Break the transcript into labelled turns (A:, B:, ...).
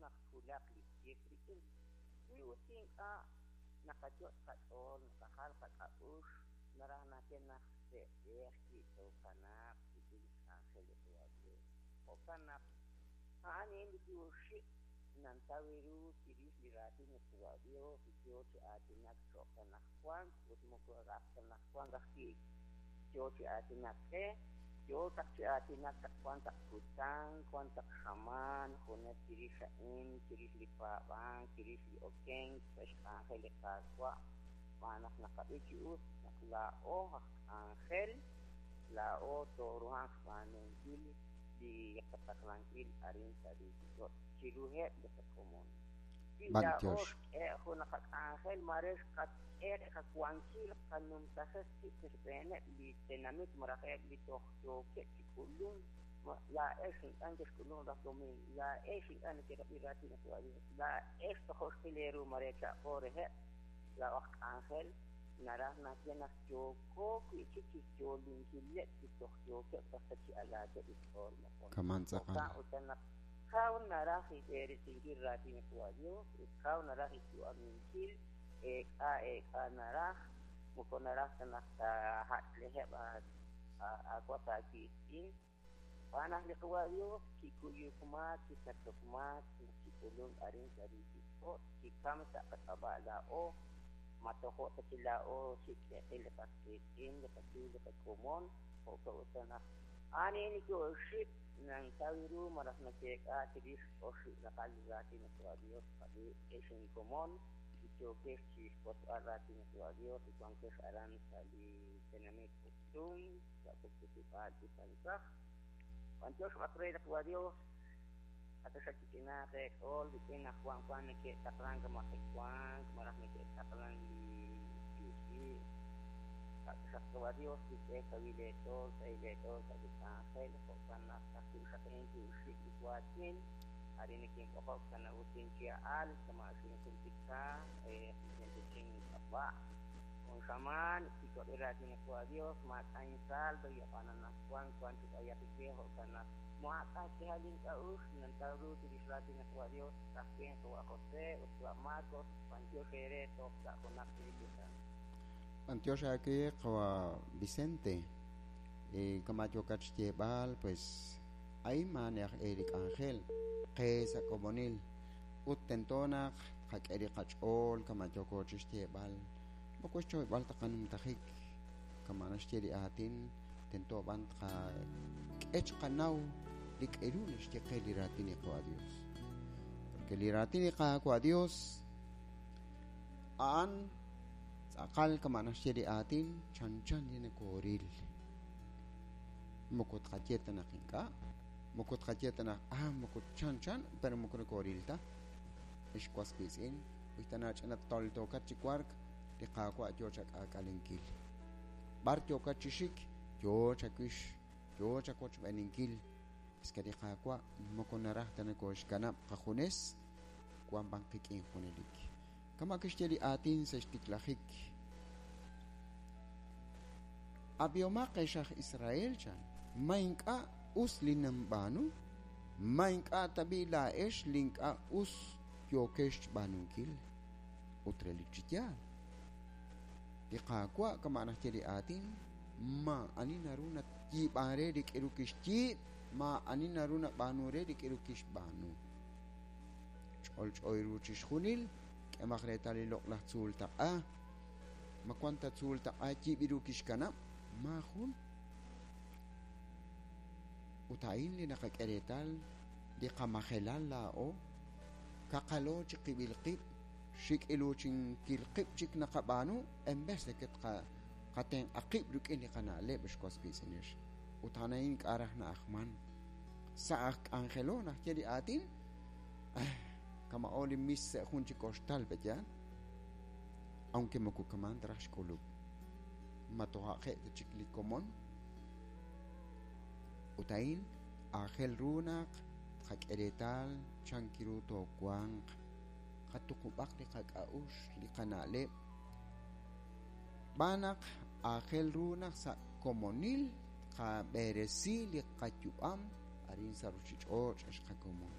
A: naq twulaq li tij rik'in. Wi ut ink'a' naqayot' qach'ool naqajal qak'a'uxl, naraj naxye naq se'b'ej wi' tookanaaq rik'in li xk'anjel li Qaawa' Dios. Jo'kan naq a'an a'in li wiib' oxib' nantaw ru chirix li raatin li Qaawa' Dios li yoo chi aatinak cho'q anajwan ut moko raj ta anajwan ajwi' yoo chi aatinak qe, yoo chaq chi aatinak chaq wan taq kutan, wan taq xamaan, junes chirix a'in, chirix li paab'ank, chirix li okenk sa' xk'anjel li Qaawa', xb'aan naq naqab'i chi us naq laa'o aj k'anjel, laa'o tooruhanq xb'aanunkil li qataqlankil arin sa' ruuchich'och' chiruheb' li qakomon. Wi laa'o xk'e jun qak'anjel, maare xqak'e qawankil qanumtajeq qib' sa' xb'eeneb' li tenamit malaj eb' li toj yookeb' chi k'ulunk, laa'ex ink'a' nekexk'ulunk raj domiing, laa'ex ink'a' nekerab'i raatin li Qaawa' Dios, laa'ex tojo' xqil eeru maare cha'qo reheb' laa'o aj k'anjel, naraj naxye naq yooko wi'chik chixyoolinkileb' li toj yookeb' raj ta chi alaakeb' xch'ool moqon.
B: Kaman tz'aqal.
A: Jo'kan utan naq kaw naraj xb'eresinkil raatin li Qaawa' Dios ut kaw naraj xyu'aminkil, eek'a eek'a naraj, moko naraj ta naq taajach'leheb' aawas aawiitz'in. Xb'aan naq li Qaawa' Dios kikuyuk maak, kisachok maak naq kik'ulunk arin sa' ruuchich'och', kikam sa' qak'ab'a' laa'o, ma tojo' ta chi laa'o xik' te'qil li qas qiitz'in, li qachu, li qakomon, jo'kan utan naq a'an a'in li wiib' oxib' nantaw ru malaj nakeek'a chirix oxib' raqal li raatin li Qaawa' Dios qab'i ex inkomon li yookex chi xwotzb'al raatin li Qaawa' Dios li wankex aran sa' li tenamit Poptún, sa' puktesib'aal Ipansaj. B'antiox b'aq re li Qaawa' Dios, ataxaq chich'inaaq eech'ool rik'in naq wan wan neke'taqlank majewank malaj neke'taqlank li yu'ch'i'. Ataxaq Qaawa' Dios kixk'e kawil eech'ool, sahil eech'ool sa' li k'anjel, jo'kan naq ka'ajwi' xaqen wiib' li waatin, arin nekinb'oqok sa' nawusin chi a'al, kama' xinjultika Vicente Chin ink'ab'a'. Jun xamaan kiwab'i raatin li Qaawa' Dios, maak'a' insaldo, y ab'an anaqwan wank chi b'ayaq we, jo'kan naq maak'a' xk'ihal ink'a'uxl, nantaw ru chirix raatin li Qaawa' Dios, ka'ajwi' Qawa' José ut Qawa' Marcos, b'antiox eere toj sa' junaq chik li kutan.
B: B'antiox aawe Qawa' Vicente, kama' yookat xyeeb'al, pues a'in maani aj e li k'anjel qe sa' komonil ut tento naq tqak'e li qach'ool kama' yooko chi xyeeb'al, moko xchoyb'al ta qanumtajik, kama' naxye li aatin, tento b'an tqak'e chiqanaw li k'eru naxye qe li raatin li Qaawa' Dios. Porque li raatin li Qaawa' Dios a'an tz'aqal kama' naxye li aatin chanchan li nokooril. Moko tqaye ta naq ink'a', moko tqaye ta naq ah moko chanchan, pero moko nokooril ta. Ex was wiitz'in, wi ta nach'ina toltookat chi wark, li Qaawa' yoo chak'aak'alenkil. B'ar yookat chi xik, yoo chawix, yoo chawochb'eeninkil. Es que li Qaawa' moko naraj ta nokooxkanab' qajunes, wan b'an qik'in junelik. Kama' kixye li aatin sa' xtiklajik, Ab'ihomaq ex aj Israel, chan, ma ink'a' us li ninb'aanu? Ma ink'a' tab'i' laa'ex li ink'a' us yookex xb'aanunkil? Ut relik chi yaal, li Qaawa' kama' naxye li aatin, maa'ani naru nayiib'an re li k'aru kixyiib', maa'ani naru nab'aanu re li k'aru kixb'aanu. Ch'olch'o ru chixjunil, k'emaq reetal li loq'laj tzuul taq'a. Ma wank ta tzuul taq'a yiib'il ru kixkanab'? Maajun. Ut a'in li naqak'e reetal li qamajelal laa'o, kaqalo chiqib'il qib', xik'iluchinkil qib' chik naqab'aanu en vez de que tqatenq'a qib' rik'in li qana'leb' ex was wiitz'inex. Ut a'an a'in ink'a' raj na'ajman. Sa' aj k'anjelo naxye li aatin, kama'o li mis sa' jun chi koxtal, pe'yaal? Aunque moko kaman ta raj xk'ulub'. Ma toja' ta chik li komon? Ut a'in aajel ru naq tqak'e reetal chan ru toowanq, qatuqub'aq li qak'a'uxl, li qana'leb', xb'aan naq aajel ru naq sa' komonil tqab'eresi li qayu'am arin sa' ruuchich'och' ex qakomon.